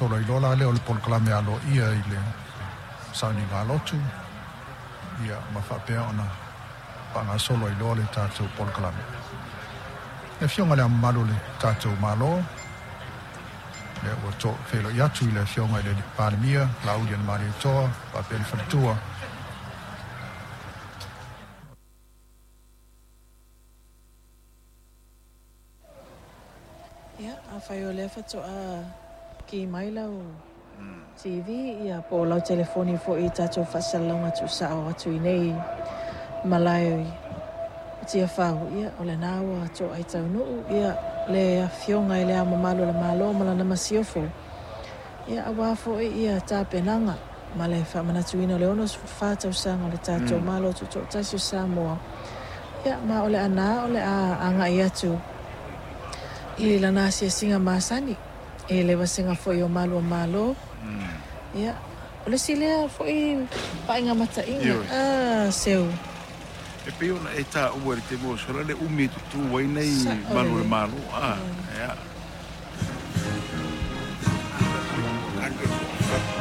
faagasolo ai loa la lea o le polokalame aloaia i le sauniga a lotu, ia ma faapea ona faagasolo ai loa le tatou polokalame. Le Afioga i Le Ao Mamalu o le tatou Malo, lea ua feiloai atu i le Afioga i le Palemia, Laaulialemalietoa, faapea le faletua. Ia, afai o lea faatoa ki mai lau TV ia po o lau telefoni foi i tatou faasalalauga tuusao atu i nei malae o Tiafau, ia o lena ua toai taunuu ia le Afioga i Le Ao Mamalu o le Malo ma lana Masiofo, ia aua foi ia tapenaga ma le faamanatuina o le 64 tausaga o le tatou Malo Tutoatasi o Samoa. Ia ma o le ana o le a agai atu i lana asiasiga masani i le vasega foi o Malu o Malo. Ia, o le isi lea foi vaaiga mataina. Ioe. Ah, seu. E pei ona e taua i le taimi ua sola le umi e tutū ai nei Sao malu o le lelei. Malo. A, ia.